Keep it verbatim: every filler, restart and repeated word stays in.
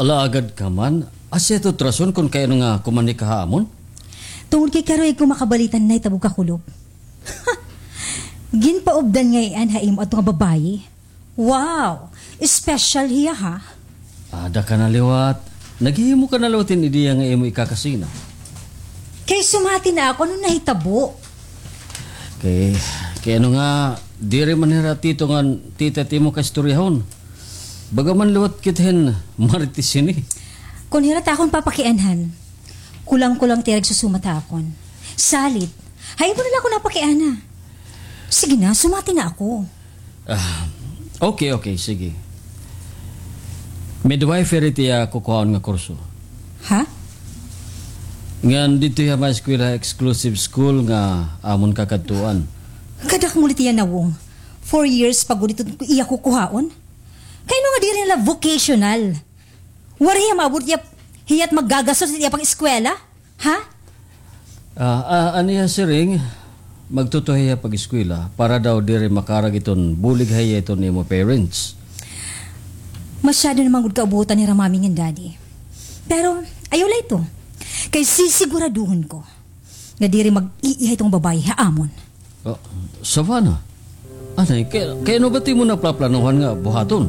Ala, agad ka man. Asya ito rason kon kay ano nga kumanhi ka ha amon? Tungod kay karuyag ko makabalita han nahitabo ha kulop. Ginpaubdan ngay-an ha imo adto nga babaye. Wow! Special hiya, ha? Ada ka na liwat. Naghihimo ka na liwat hin ideya nga imo ikakasina. Kay sumati na ako, ano nahitabo? Kay, kay ano nga, diri man hira tito ngan tita it imo kaistoryahon. Baga man liwat kita hin marites hini. Kon hira ta akon papakianhan, kulang-kulang it ira igsusumat ha akon. Salit, ha imo na la ako napakiana. Sige na, sumati na ako. Ah, okay, okay, sige. Midwifery it iya kukuhaon nga kurso. Ha? Ngan didto hiya maeskwela ha exclusive school nga amon kakadtuan. Kadakmol it iya nawong. Four years pa gud ito iya kukuhaon. Kay ano nga diri na la vocational? Waray hiya maabot hiya, hiya't maggagastos it iya pag-eskwela? Ha? Ah, ah, an iya siring, magtutuhay hiya pag-eskwela para daw diri makarag iton bulig ha iya iton imo parents. Masyado na man gud kaubutan hira Mommy ngan Daddy. Pero, ayaw la ito. Kay sisiguraduhon ko nga diri mag-iiha iton babaye ha amon. Oh, Savannah, anay, kay, kay ano ba it imo naplaplanuhan nga buhaton?